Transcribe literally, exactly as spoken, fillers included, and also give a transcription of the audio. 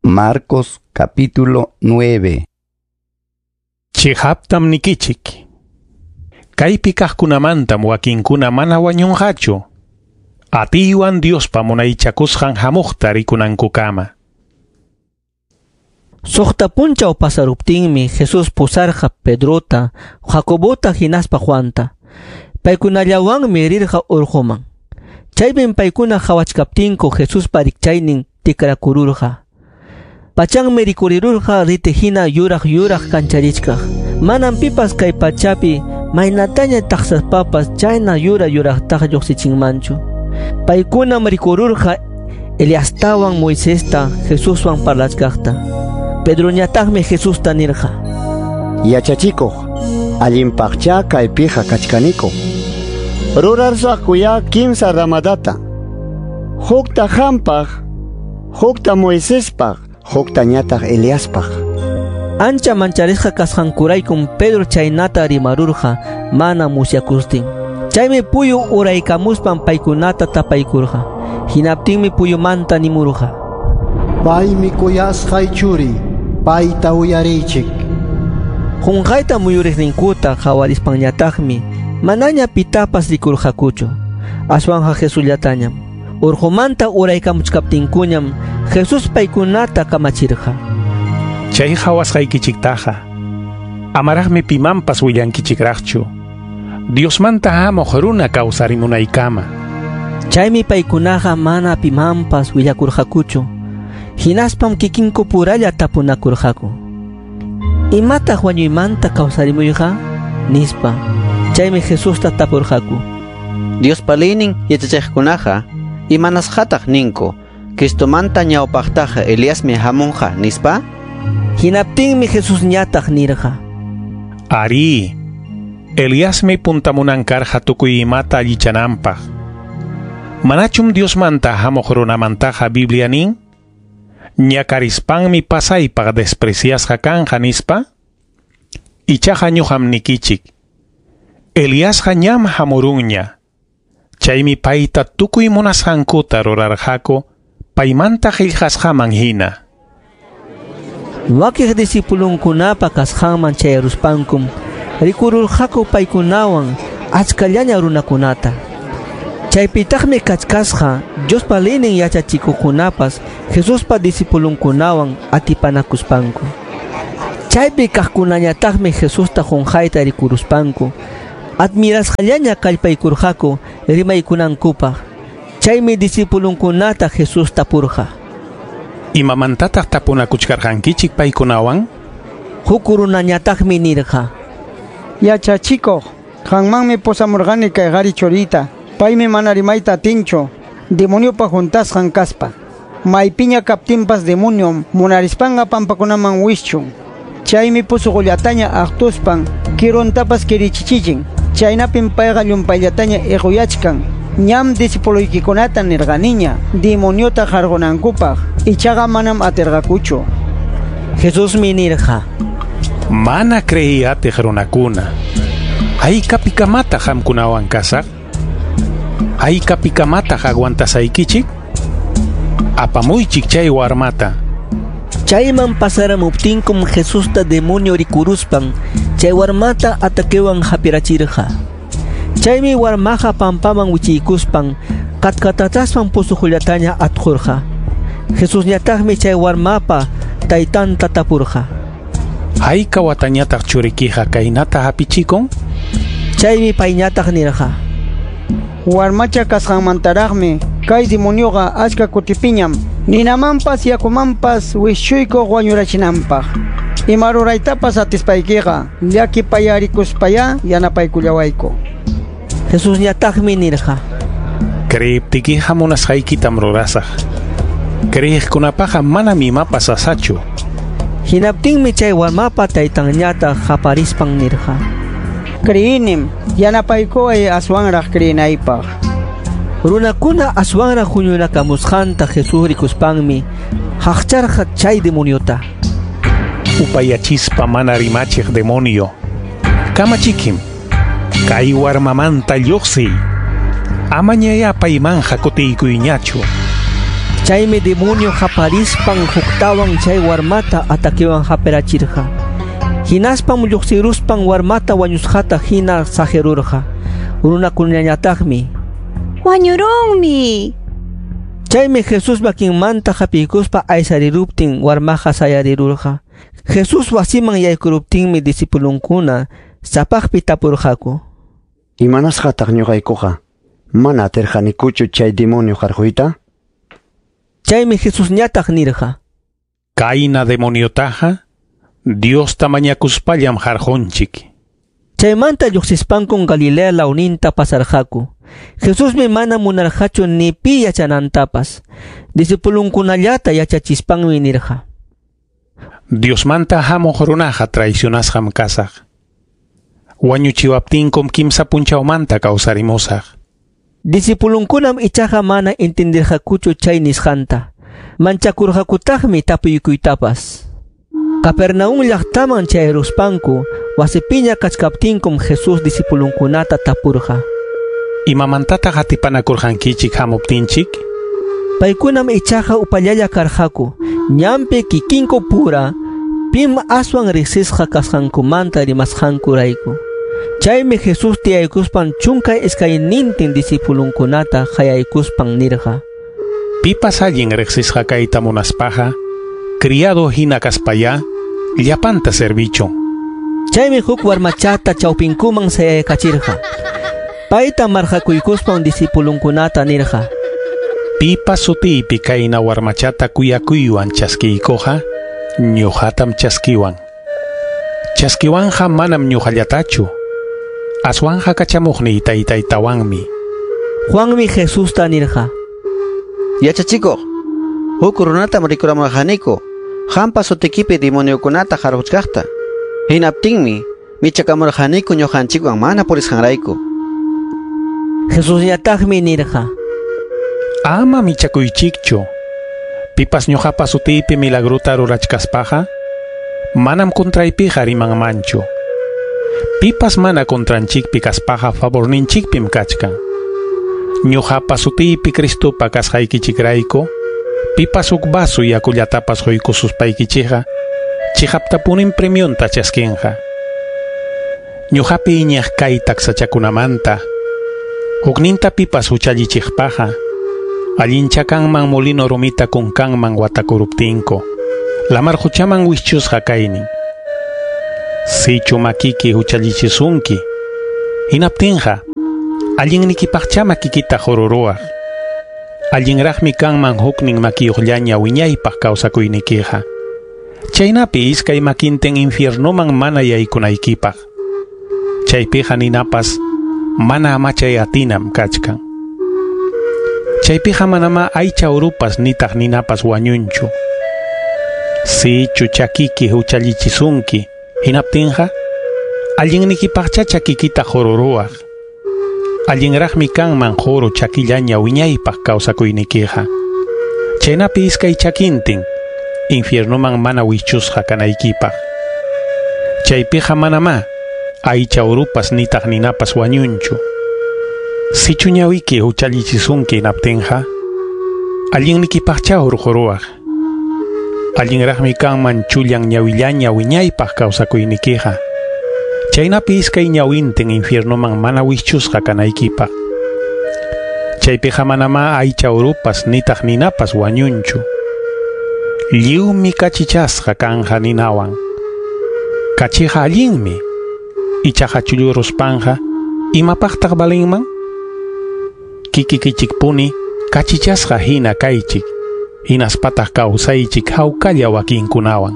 Marcos capítulo nueve. Chiqaptam nikichik. Kaypi kaqkunamantam wakinkuna mana wañunqachu. Atiywan Diospa munaychakusqan hamuqta rikunankukama. Suqta punchaw pasaruptinmi Jesús pusarqa Pedrota, Jacobota hinaspa Juanta. Paykunallawanmi rirqa urquman. Chaypim paykuna qhawachkaptinku Jesuspa rikchaynin tikrakururqa. Pachanmi rikurirurqa riti hina yuraq yuraq kancharichkaq. Manam pipas kay pachapi maynataña taqsaspapas chayna yura yuraqtaqa lluqsichinmanchu. Paykunam rikururqa Eliastawan Moisesta Jesuswan parlachkaqta. Pedroñataqmi Jesusta nirqa: Yachachikuq, allinpaqcha kaypiqa kachkaniku. Rurarsakuya kimsa ramadata. Hukta hampaq, hukta Moisespaq, hukta ñataq Eliaspaq. Ancha mancharisqa kasqankuraykum Pedro chaynata rimarurqa mana musyakustin. Chaymi puyu uraykamuspan paykunata tapaykurqa. Hinaptinmi puyumanta nimurqa: Paymi kuyasqay churi, payta uyariychik. Qunqayta muyuriqninkuta qhawarispanñataqmi manaña pitapas rikurqakuchu, aswanqa Jesusllatañam. Urqumanta uraykamuchkaptinkuñam Jesús paykunata kamachirqa: Chay qhawasqaykichiktaqa amaraqmi pimanpas willankichikraqchu. Diosmanta hamuq runa kawsarimunaykama. Chaymi paykunaqa mana pimanpas willakurqakuchu. Hinaspam kikinku puralla tapunakurqaku: ¿Imataq wañuymanta kawsarimuyqa? Nispa. Chaymi Jesusta tapurqaku: Diospa leynin yachachiqkunaqa imanasqataq ninku Cristomanta ñawpaqtaqa Eliasmi hamunqa nispa? Hinaptinmi Jesusñataq nirqa: Ari, Eliasmi puntamunan karqa tukuy imata allichananpaq. Manachum Diosmanta hamuq runamantaqa Biblia nin? Ñakarispanmi pasaypaq despreciasqa kanqa nispa? Ichaqa ñuqam nikichik. Eliasqa ñam hamurunña. Chaymi payta tukuy munasqankuta rurarqaku paymanta qillqasqaman hina. Wakiq discipulunkunapa kasqanman chayaruspankum rikururqaku paykunawan achkallaña runakunata. Chaypitaqmi kachkasqa Diospa leynin yachachikuqkunapas Jesuspa discipulunkunawan atipanakuspanku. Chaypi kaqkunañataqmi Jesusta qunqayta rikuruspanku admirasqallaña kallpaykurqaku rimaykunankupaq. Chaymi discipulunkunata Jesús tapurqa: ¿Imamantataq tapunakuchkarqankichik paykunawan? Huk runañataqmi nirqa: Yachachikuq, qanmanmi pusamurqani kay qhari churita. Paymi mana rimayta atinchu, demoniopa juntasqan kaspa. Maypiña kaptinpas demoniom munarispanqa pampakunaman wischun. Chaymi pusuqullataña aqtuspan kiruntapas kirichichichin. Chaynapim payqa llumpayllataña iquyachkan. Ñam discipuluykikunata nirqaniña demoniota qarqunankupaq, ichaqa manam atirqakuchu. Jesusmi nirqa: Mana creí atiq runakuna. Haykapikamataq qamkunawan kasaq? Haykapikamataq aguantasaykichik? Apamuychik chay warmata. Chayman pasaramuptinkum Jesusta demonio rikuruspan chay warmata ataquewan hapirachirqa. Chaymi warmaqa pampaman wichiykuspan katkatataspan pusuqullataña atqurqa. Jesusñataqmi chay warmapa taytanta tapurqa: ¿Hayka watañataq churikiqa kaynata hapichikun? Chaymi payñataq nirqa: Warmacha kasqanmantaraqmi kay demonioqa achka kutipiñam ninamanpas yakumanpas wischuykuq wañurachinanpaq. Ima ruraytapas atispaykiqa llakipayarikuspayá yanapaykullawayku. Jesusñataqmi nirqa: Creiptikiqa munasqaykitam rurasaq. Creyiqkunapaqa manam imapas sasachu. Hinaptinmi chay warmapa taytanñataq qaparispan nirqa: Creyinim, yanapaykuway aswanraq creyinaypaq. Runakuna aswanraq huñunakamusqanta Jesús rikuspanmi haqcharqa chay demoniota: Upayachispa mana rimachiq demonio, kamachikim, kay warmamanta lluqsiy. Amañaya paymanja kutiykuyñachu. Chaymi demonio qaparispan huktawan chay warmata ataquewan hapirachirqa. Hinaspam lluqsiruspan warmata wañusqata hina saqirurqa. Runakunañataqmi Wañurunmi. Chaymi Jesús makinmanta hapiykuspa aysariruptin warmaqa sayarirurqa. Jesús wasiman yaykuruptinmi discipulunkuna sapaqpi tapurqaku. Imanasqataq ñuqaykuqa mana atirqanikuchu chay demonio qarquyta? Chaymi Jesusñataq nirqa. Kayna demoniotaqa Diosta mañakuspallam qarqunchik. Chaymanta lluqsispankum Galilea lawninta pasarqaku. Jesusmi mana munarqachu ni pi yachanantapas. Discipulunkunallata yachachispanmi nirqa. Diosmanta hamuq runaqa traicionasqam kasaq. Wañuchiwaptinkum kimsa punchawmanta kawsarimusaq. Discipulunkunam ichaqa mana entendirqakuchu chay nisqanta. Manchakurqakutaqmi tapuykuytapas. Capernaum llaqtaman chayruspanku wasipiña kachkaptinkum Jesús discipulunkunata tapurqa. Imamantataq atipanakurqankichik hamuptinchik? Paykunam ichaqa upallalla karqaku. Ñanpi kikinku pura pim aswan riqsisqa kasqankumanta rimasqankurayku. Chaymi Jesús tiyaykuspan chunka iskaynintin discipulunkunata qayaykuspan nirqa. Pipas allin riqsisqa kayta munaspaqa, criado hina kaspaya, llapanta servichun. Chaymi huk warmachata chawpinkuman sayaykachirqa. Payta marqakuykuspan discipulunkunata nirqa. Pipas sutiypi kayna warmachata kuyakuywan chaskiykuqa, ñuqatam chaskiwan. Chaskiwanja manam ñuqallatachu, aswanja kachamuqniy taytaytawanmi. Juanmi Jesusta nirqa. Yachachikuq, huk runatam rikuramurqaniku, qampa sutikipi demoniokunata qarquchkaqta. Hinaptinmi michakamurqaniku ñuqanchikwan mana purisqanrayku. Jesusñataqmi nirqa. Ama michakuychikchu. Pipas ñuqapa sutiypi milagrota rurachkaspaqa, manam contraypiqa rimanmanchu. Pipas mana contranchikpi kaspaqa favorninchikpim kachkan. Ñuqapa sutiypi Cristopa kasqaykichikrayku, pipas huk vaso yakullatapas quykususpaykichikqa, chiqaptapunim premionta chaskinqa. Ñuqapi iñaq kay taksachakunamanta, hukninta pipas huchallichiqpaqa, allincha kanman molino rumita kunkanman watakuruptinku, lamar huchaman wischusqa kaynin. Sichu makiki huchallichisunki, hinaptinqa, allinnikipaqcha makikita qururuwaq. Allinraqmi kanman huknin makiyuqllaña wiñaypaq kawsakuynikiqa. Chaynapi iskay makintin infiernoman mana yaykunaykipaq. Chaypiqa ninapas mana amachay atinam kachkan. Chaypiqa manama aycha urupas nitaq ninapas wañunchu. Sichu chakiki huchallichisunki, hinaptinqa, allinnikipaqcha chakikita qururuwaq. Allinraqmi kanman quru chakillaña wiñaypaq kawsakuynikiqa. Chaynapi iskay chakintin infiernoman mana wichusqa kanaykipaq. Chaypiqa manamá aycha urupas nitaq ninapas wañunchu. Sichu ñawiki huchallichisunki hinaptinqa, allinnikipaqcha hurquruwaq. Allinraqmi kanman chullan ñawillaña wiñaypaq kawsakuynikiqa. Chaynapi iskay ñawintin infiernoman mana wischusqa kanaykipaq. Chaypiqa manamá aycha urupas nitaq ninapas wañunchu. Lliwmi kachichasqa kanja ninawan. Kachiqa allinmi, ichaqa chulluruspanqa imapaqtaq valinman? Kikikichikpuni kachichasqa hina kaychik, hinaspataq kawsaychik hawkalla wakinkunawan.